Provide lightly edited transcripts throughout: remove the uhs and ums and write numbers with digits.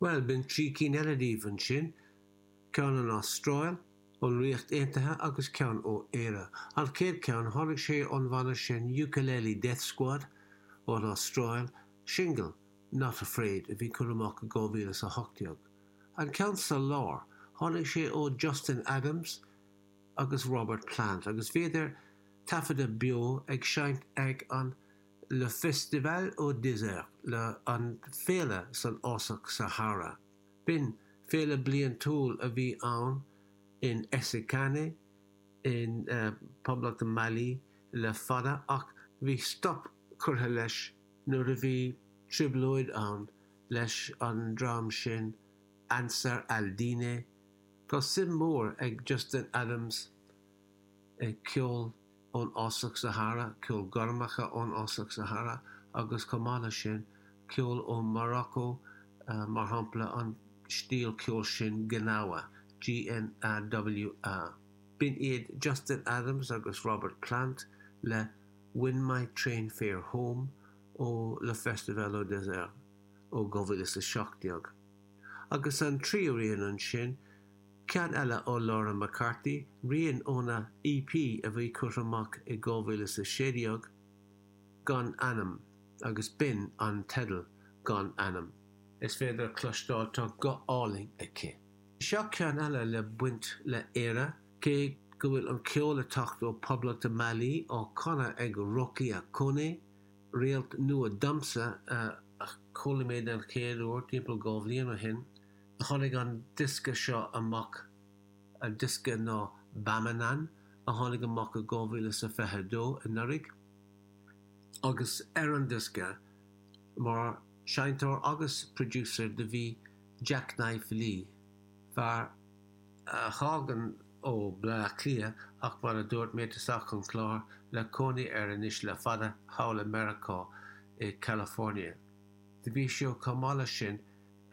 Bhuel, b'in 3 cinn eile daoibh ansin, ceann ón Astráil, ón Ríocht Aontaithe agus ceann ó Éire. An chéad cheann, tháinig sé ón bhanna sin Ukulele Death Squad ón Astráil, singil Not Afraid a bhí curtha amach i 2018. An ceann sa lár, tháinig sé ó Justin Adams agus Robert Plant agus bhíodar taifeadta beo ag seinnt ag an Le Festival au Désert, le an féile san fhásach Sahara. B'in féile bliantúil a bhí ann in Essakane in Poblacht Mali le fada ach bhí stop curtha leis nuair a bhí trioblóid ann leis an dream sin Ansar Al Dine. Tá suim mhór ag Justin Adams i gceol ón fhásach Sahara, ceol gormacha ón fhásach Sahara agus chomh maith leis sin, ceol ó Morocco, mar shampla an stíl ceoil sin Gnawa, G-N-A-W-A. B'in iad Justin Adams agus Robert Plant le When My Train Fare Home ó Le Festival au Désert ó 2017. Agus an tríú rian ansin, Ceann eile ó Laura McCarthy, rian óna EP a bhí curtha amach i 2016, Gan Ainm, agus b'in an teideal, Gan Ainm. Is féidir a chloisteáil, tá guth álainn aici. Seo ceann eile le baint le Éire, cé go bhfuil an ceol ag teacht ó Poblacht Mali, á chanadh ag Rokia Koné, réalt nua domsa a chuala mé den chéad uair timpeall 2 bhliain ó shin. Tháinig an diosca seo amach, an diosca ná Bamanan, a tháinig amach i 2022, anuraidh, agus ar an diosca, mar seinnteoir agus producer do bhí Jacknife Lee, fear a thagann ó Bleá Cliath ach mar a dúirt mé i dtosach an chláir, le cónaí air anois le fada thall i Meiriceá, i California. Do bhí sé chomh maith leis sin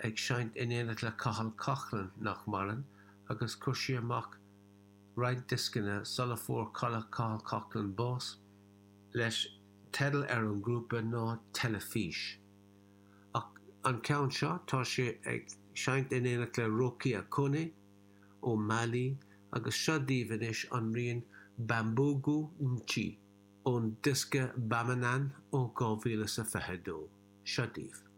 ag seinnt in éineacht le Cathal Coughlan, nach maireann, agus chuir sé amach roinnt dioscanna sula fuair Cathal Coughlan bás, leis teideal ar an ngrúpa ná Teilifís. Ach an ceann seo, tá sé ag seinnt in éineacht le Rokia Koné ó Mali agus seo daoibh anois an rian Bambougou Nchi ón diosca Bamanan ó 2022. Seo daoibh.